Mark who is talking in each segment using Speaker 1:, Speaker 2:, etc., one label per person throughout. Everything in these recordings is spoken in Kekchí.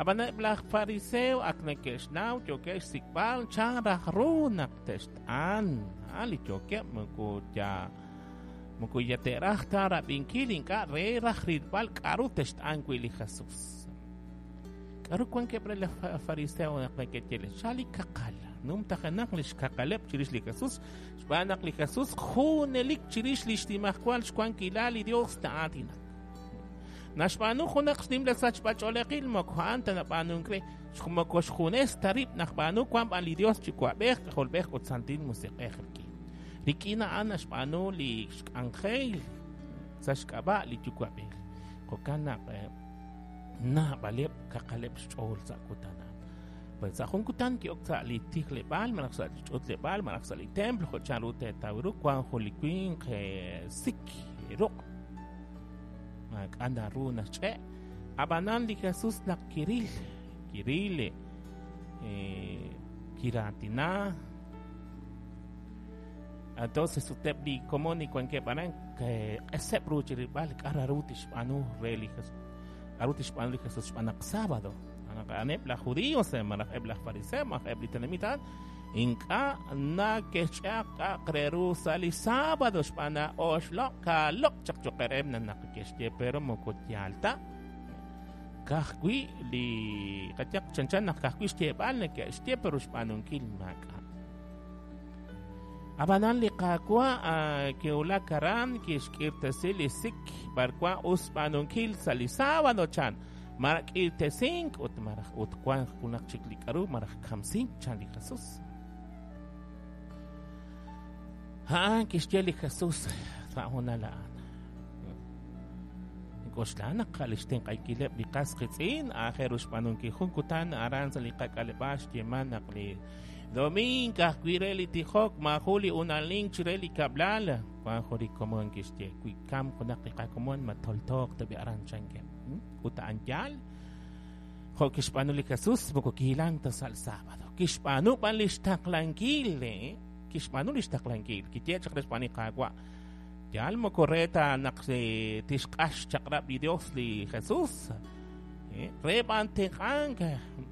Speaker 1: Ab'an eb' laj fariseo ak neke'xnaw yookeb' xsik'b'al chan raj ru naq te'xt'an. Li yookeb' moko ya te'raj ta rab'inkil, ink'a' re raj rilb'al k'a'ru te'xt'an wi' li Jesus. K'a'ru wankeb' re laj fariseo naq neke'ye li xa li kaqal, numtajenaq li xkaqaleb' chirix li Jesus, xb'aan naq li Jesus junelik chirix li xnimajwal xwankilal li Dios na'aatinak. Naxb'aanu junaq xnimla sachb'ach'oolejil moko a'an ta nab'aanunk re, moko xjunes ta rib' nab'aanu, wan b'an li Dios Yuwa'b'ej, K'ajolb'ej ut Santil Musiq'ej rik'in. Rik'in a'an naxb'aanu li xk'anjel sa' xk'ab'a' li Yuwa'b'ej. Jo'kan naq naab'aleb' kaqaleb' xch'ool sa' kutan a'an. Pues sa' jun kutan ki'ok sa' li tijleb'aal malaj sa' li ch'utleb'aal malaj sa' li templo jo' chanru teetaw ru wank jun li winq sik ruq'. Maak'a' naru naxch'e'. Ab'anan li Jesus naq kiril, kiril, kiraatina. Entonces ut eb' li komon li wankeb' aran q'eseb' ru chi rilb'al k'a' ru tixb'aanu re li Jesus. K'a'ru tixb'aanu li Jesus xb'aan naq sábado. A'aneb' laj judíos malaj eb' laj fariseo malaj eb' li tenamit a'an ink'a' nake'xch'aq k'a'aq re ru sa' li sábado xb'aan naq oxloq' kaaloq' chaq cho'q reheb' naq ke'xye pero moko yaal ta. Ka'ajwi' li qayaq chanchan naq ka'ajwi' xyeeb'al neke'xye pero xb'aanunkil maak'a'. Ab'anan li Qaawa' kiwulak aran kixk'irtesi li sik b'arwan us xb'aanunkil sa' li sábado chan. Malaj k'irtesink ut malaj ut wank junaq chik li k'aru malaj kamsink chan li Jesus. A'an kixye li Jesus sa' hoonal a'an. K'oxla naq li xtenq'ankileb' li qas qiitz'in aajel ru xb'aanunkil jun kutan aran sa' li qak'aleb'aal xyeeman naq li doming ka'ajwi' re li tijok maajun li unalink chire li kab'lal. Wank jun li komon kixye wi kamk junaq li qakomon ma toltooq tab'i aran chankeb'. Ut a'an yaal. Jo' kixb'aanu li Jesus moko kihilank ta sa' li sábado. Kixb'aanu b'an li xtaqlankil. Kixb'aanu li xtaqlankil. Kiye chaq re xb'aan li Qaawa'. Yaal moko re ta naq tixq'ax xchaq'rab' li Dios li Jesus. Re b'an tenq'ank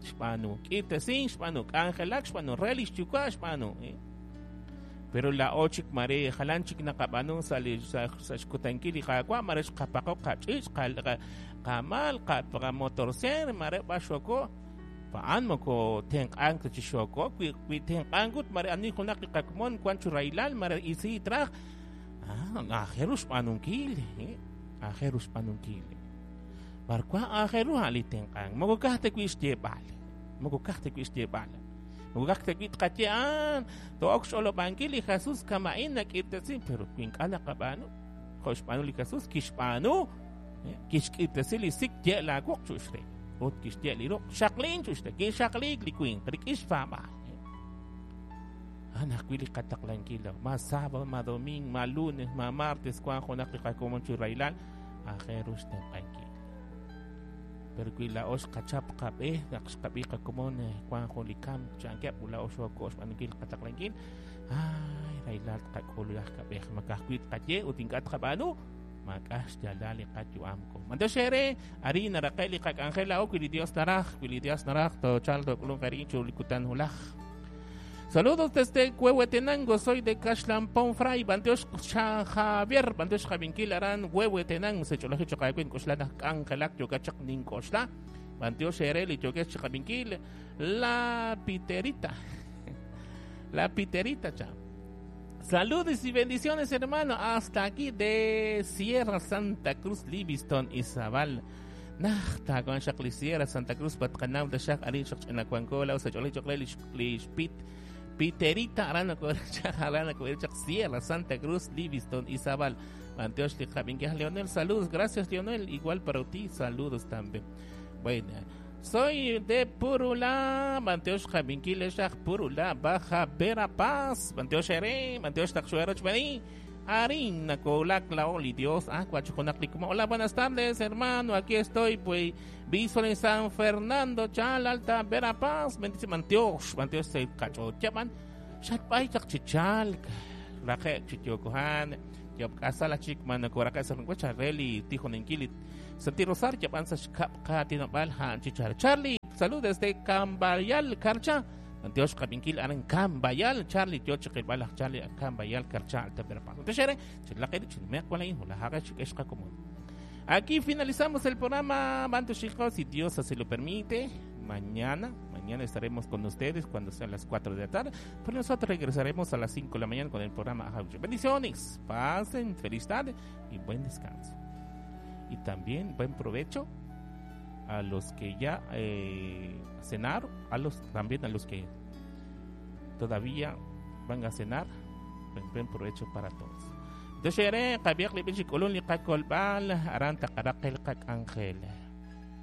Speaker 1: xb'aanu, k'irtesink xb'aanu, k'anjelak xb'aanu, re li xyuwa' xb'aanu. Pero laa'o chik mare jalan chik naqab'aanu sa' li sa' xkutankil li Qaawa', mare xqapaqo qach'iich', qamaal, qamotorseer, mare b'ar xoko. A'an moko tenq'ank ta chi xoko, wi tenq'ank ut mare ani junaq li qakomon wan chi rahilal, mare isiit raj. Aajel ru xb'aanunkil, aajel ru xb'aanunkil. B'ar wan aajel ru a'an li tenq'ank. Moko ka'aj ta wi' xyeeb'al, moko ka'aj ta wi' xyeeb'al. Moko ka'aj ta wi' tqaye a'an, to'ok xch'olob'ankil li Jesus kama'in nak'irtesin, pero wi ink'a' naqab'aanu, jo' xb'aanu li Jesus, kixb'aanu, kixk'irtesi li sik, ye' laawuq' chu'ux re. Ut kixye' li ruq', xaqlin chu'ux re, kixaqliik li winq rik'in xpaab'aal. A'an ajwi' li qataqlankil, ma sábado, ma domingo, ma lunes, ma martes, wank junaq li qakomon chi rahilal, aajel ru xtenq'ankil. Pero wi laa'o xqachap qab'e naq xqab'i qakomon wank jun li kamk chankeb' ut laa'o xooko xb'aanunkil qataqlankil, ay rahilal tqak'ul laj kab'ej, ma ka'ajwi' tqaye ut ink'a' tqab'aanu, maak'a' xyaalal li qayu'am ko. Mantiox eere, arin naraqe' li qak'anjel laa'o wi li Dios naraj, wi li Dios naraj toochalq took'ulunq eerik'in chiru li kutan wulaj. Saludos desde Huehuetenango, soy de Caxlampón Fray, Bantiox Javier, Bantiox Javinkil aran Huehuetenango, se ch'olaji choq aawe nk'oxla naq k'anjelak yookat chaq nink'oxla. Bantiox eere li yookex chi qabinkil La Piterita. La Piterita cha. Saludos y bendiciones, hermano, hasta aquí de Sierra Santa Cruz, Livingston, Izabal. Najt wan xaq li Sierra Santa Cruz patqanaw taxaq arin xaq ch'ina wanko law sa ch'olej choq re li xpit Piterita aran aran chaq Sierra Santa Cruz, Livingston, Izabal. Bantiox li qab'inkej Leonel, saludos, gracias Leonel, igual para ti, saludos también. Bueno, soy de Purula, Bantiox qabinkil xaq Purula, Baja Verapaz, Bantiox ere, Bantiox taqxuero chbani. Arin nakolak lao li Dios. Ah, Hola, buenas tardes, hermano. Aquí estoy, pues, visto en San Fernando, Chal, Alta, Verapaz. Bendice, Mantiox, Mantiox, se cacho, chaman. Xatbay, chak chichal, raje, chichiokohan, yob kasala chik, man, koraka, sa reli, tijonenkili, Santi Rosario, yaban sa xkap, katinabal, han, chichal. Charlie. Salud desde Cambayal, Carcha. Antiox qabinkil aran Cambayal, Charlie yo chiqilb'al laj Charlie Cambayal, Carcha, Alta Verapaz. Entonces, chilaqil chinmeq walain hulahaqa chik'exqa común. Aquí finalizamos el programa Bantu Chicos, si Dios así lo permite. Mañana, mañana estaremos con ustedes cuando sean las 4 de la tarde. Pero nosotros regresaremos a las 5 de la mañana con el programa Ajauche. Bendiciones, pasen feliz tarde y buen descanso. Y también buen provecho a los que ya cenaron, a los, también a los que todavía van a cenar. Buen provecho para todos. Entonces, qabiq li b'ich k'ulun li qakolb'al aran taqaraqil qak'anjel.